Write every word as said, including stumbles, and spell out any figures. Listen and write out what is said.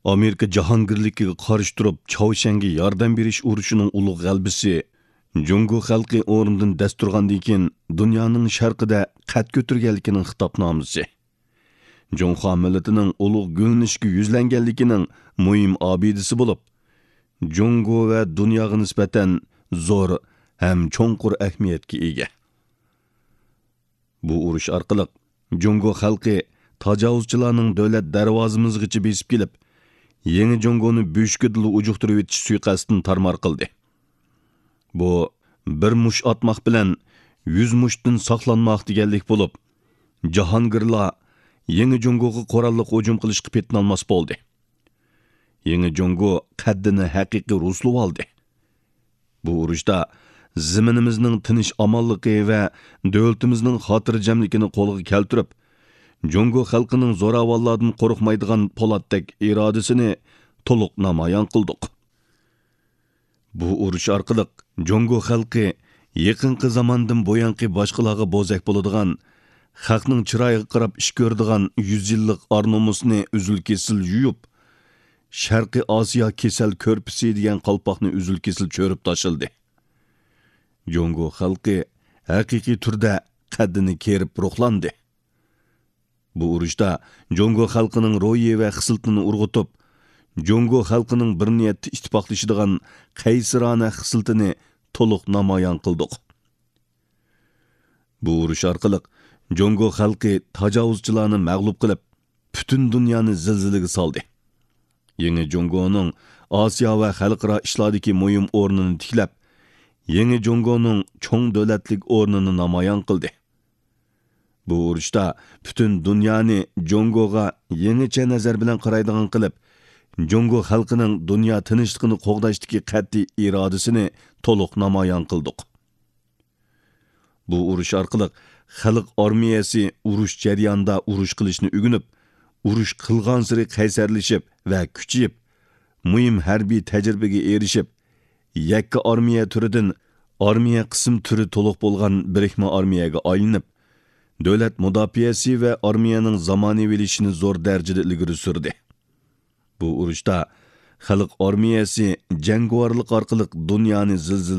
ئامېرىكا جاھانگىرلىكىگە قارشى تۇرۇپ، چاۋشيەنگە ياردەم بېرىش ئۇرۇشىنىڭ ئۇلۇغ غەلىبىسى جۇڭگو خەلقى ئورنىدىن دەس تۇرغاندىن كېيىن، دۇنيانىڭ شەرقىدە قەد كۆتۈرگەنلىكىنىڭ خىتابنامىسى، جۇڭخۇا مىللىتىنىڭ ئۇلۇغ گۈللىنىشكە يۈزلەنگەنلىكىنىڭ مۇھىم ئابىدىسى بولۇپ، جۇڭگو ۋە دۇنياغا نىسبەتەن زور ھەم چوڭقۇر ئەھمىيەتكە ئىگە. بۇ ئۇرۇش ئارقىلىق جۇڭگو خەلقى تاجاۋۇزچىلارنىڭ دۆلەت دەرۋازىمىزغىچە بېسىپ كېلىپ، يېڭى جۇڭگونى بۆشۈكىدىلا ئۇجۇقتۇرۇۋېتىش سۇيىقەستىنى تارمار قىلدى. بۇ بىر مۇش ئاتماق بىلەن يۈز مۇشتىن ساقلانماق دېگەنلىك بولۇپ، جاھانگىرلار يېڭى جۇڭگوغا قوراللىق ھۇجۇم قىلىشقا پېتىنالماس بولدى. يېڭى جۇڭگو قەددىنى ھەقىقىي رۇسلىۋالدى. بۇ ئۇرۇشتا زېمىنىمىزنىڭ تىنچ-ئامانلىقى ۋە دۆلىتىمىزنىڭ خاتىرجەملىكىنى قولغا كەلتۈرۈپ، جۇڭگو خەلقىنىڭ زوراۋانلاردىن قورقمايدىغان پولاتتەك ئىرادىسىنى تولۇق نامايان قىلدۇق. بۇ ئۇرۇش ئارقىلىق جۇڭگو خەلقى يېقىنقى زاماندىن بۇيانقى باشقىلارغا بوزەك بولىدىغان، خەقنىڭ چىرايىغا قاراپ ئىش كۆرىدىغان يۈز يىللىق ئار-نومۇسنى ئۈزۈل-كېسىل يۇيۇپ، شەرقىي ئاسىيا كېسەل كۆرپىسى دېگەن قالپاقنى ئۈزۈل-كېسىل چۆرۈپ تاشلىدى. جۇڭگو خەلقى ھەقىقىي تۈردە قەددىنى كېرىپ روھلاندى. بۇ ئۇرۇشتا جۇڭگو خەلقىنىڭ روھى ۋە خىسلىتىنى ئۇرغۇتۇپ، جۇڭگو خەلقىنىڭ بىر نىيەتتە ئىتتىپاقلىشىدىغان قەيسىرانە خىسلىتىنى تولۇق نامايان قىلدۇق. بۇ ئۇرۇش ئارقىلىق جۇڭگو خەلقى تاجاۋۇزچىلارنى مەغلۇپ قىلىپ، پۈتۈن دۇنيانى زىلزىلىگە سالدى. يېڭى جۇڭگونىڭ ئاسىيا ۋە خەلقئارا ئىشلاردىكى مۇھىم ئورنىنى تىكلەپ، يېڭى جۇڭگونىڭ چوڭ دۆلەتلىك ئورنىنى نامايان قىلدى. بۇ ئۇرۇشتا پۈتۈن دۇنيانى جۇڭگوغا يېڭىچە نەزەر بىلەن قارايدىغان قىلىپ، جۇڭگو خەلقىنىڭ دۇنيا تىنچلىقىنى قوغداشتىكى قەتئىي ئىرادىسىنى تولۇق نامايان قىلدۇق. بۇ ئۇرۇش ئارقىلىق خەلق ئارمىيەسى ئۇرۇش جەريانىدا ئۇرۇش قىلىشنى ئۆگىنىپ، ئۇرۇش قىلغانسېرى قەيسەرلىشىپ ۋە كۈچىيىپ، مۇھىم ھەربىي تەجرىبىگە ئېرىشىپ، يەككە ئارمىيە تۈرىدىن ئارمىيە قىسىم تۈرى تولۇق بولغان بىرىكمە ئارمىيەگە ئايلىنىپ، دۆلەت مۇداپىئەسى ۋە ئارمىيەنىڭ زامانىۋىلىشىشىنى زور دەرىجىدە ئىلگىرى سۈردى. بۇ ئۇرۇشتا خەلق ئارمىيەسى جەڭگىۋارلىق ئارقىلىق دۇنيانى زىلزىلە